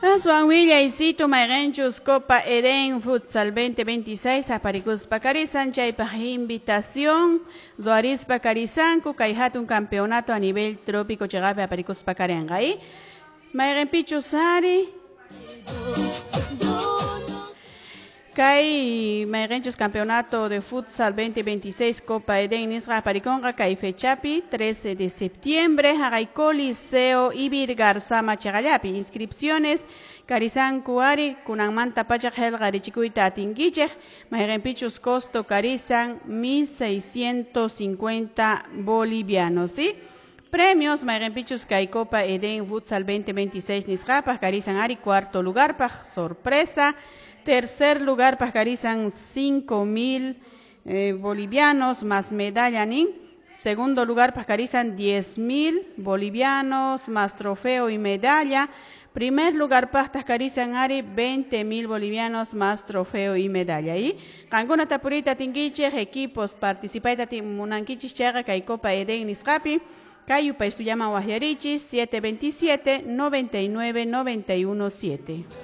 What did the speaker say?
Aswan willaysitu mayqinchus Copa Edén Futsal 2026 aparikuspa karisan chaypaq invitación ruwarispa karisanku kay hatun campeonato a nivel trópico chiqapi aparikuspa karinqa y mayqinpichus ari kay mayqinchus campeonato de futsal 2026 Copa Edén nisqa aparikunqa kay fechapi 13 de septiembre haqay Coliseo Ivirgarzama chiqallapi. Inscripciones karisanku ari kunanmanta pacha qillqarichikuyta atinkichik mayqinpichus costo karisan 1650 bolivianos, ¿sí? Premios mayqinpichus kay Copa Edén Futsal 2026 nisqapaq karisan ari cuarto lugar paq sorpresa. Tercer lugar karisan 5.000 bolivianos más medalla nin. Segundo lugar karisan 10.000 bolivianos más trofeo y medalla. Primer lugar karisan ari 20.000 bolivianos más trofeo y medalla. Y qankuna tapuriyta atinkichik equipos participayta munankichik chayqa kay Copa Edén nisqapi. Kay yupaystullaman waqyarichis 727 99 91 7.